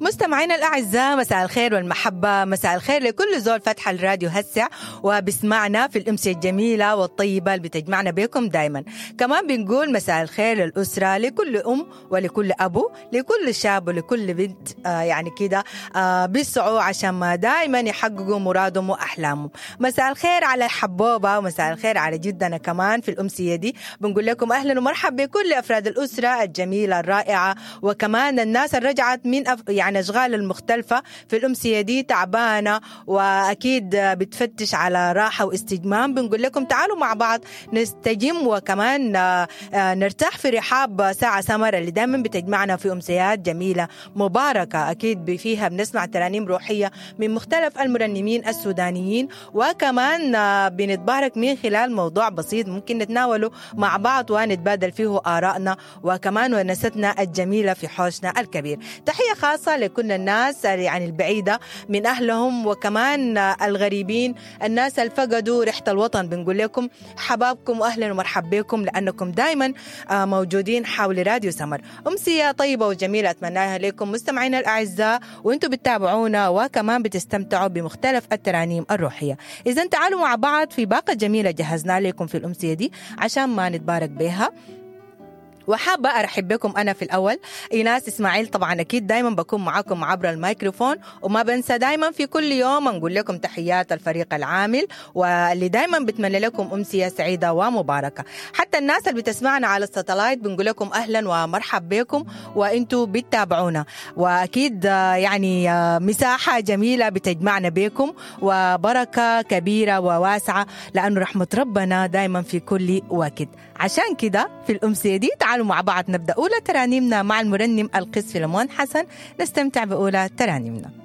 مستمعينا الأعزاء، مساء الخير والمحبة، مساء الخير لكل زول فتح الراديو هسع وبسمعنا في الأمسية الجميلة والطيبة اللي بتجمعنا بكم دايما. كمان بنقول مساء الخير للأسرة، لكل أم ولكل أبو، لكل شاب ولكل بنت، يعني كده بيسعوا عشان ما دايما يحققوا مرادهم وأحلامهم. مساء الخير على الحبوبة ومساء الخير على جدنا كمان في الأمسية دي. بنقول لكم أهلا ومرحبا بكل أفراد الأسرة الجميلة الرائعة، وكمان الناس اللي رجعت من يعني أشغال المختلفة في الأمسية دي تعبانة وأكيد بتفتش على راحة واستجمام. بنقول لكم تعالوا مع بعض نستجم وكمان نرتاح في رحاب ساعة سمر اللي دايما بتجمعنا في أمسيات جميلة مباركة، أكيد فيها بنسمع ترانيم روحية من مختلف المرنمين السودانيين، وكمان بنتبارك من خلال موضوع بسيط ممكن نتناوله مع بعض ونتبادل فيه آرائنا وكمان ونستنا الجميلة في حوشنا الكبير. تحية خاصة لكل الناس يعني البعيدة من أهلهم وكمان الغريبين، الناس اللي فقدوا ريحة الوطن. بنقول لكم حبابكم وأهلا ومرحبا بكم، لأنكم دايما موجودين حول راديو سمر. أمسية طيبة وجميلة أتمناها لكم مستمعينا الأعزاء، وأنتم بتتابعونا وكمان بتستمتعوا بمختلف الترانيم الروحية. إذا تعالوا مع بعض في باقة جميلة جهزنا لكم في الأمسية دي عشان ما نتبارك بها. وحابة أرحب بكم أنا في الأول إيناس إسماعيل، طبعا أكيد دايما بكون معاكم عبر الميكروفون، وما بنسى دايما في كل يوم نقول لكم تحيات الفريق العامل واللي دايما بتمنى لكم أمسية سعيدة ومباركة. حتى الناس اللي بتسمعنا على الساتلايت بنقول لكم أهلا ومرحب بكم وإنتوا بتتابعونا، وأكيد يعني مساحة جميلة بتجمعنا بكم وبركة كبيرة وواسعة، لأنه رحمة ربنا دايما في كل وقت. عشان كده في الأمسية دي تعالوا مع بعض نبدأ أولى ترانيمنا مع المرنم القس فيلمون حسن، نستمتع بأولى ترانيمنا.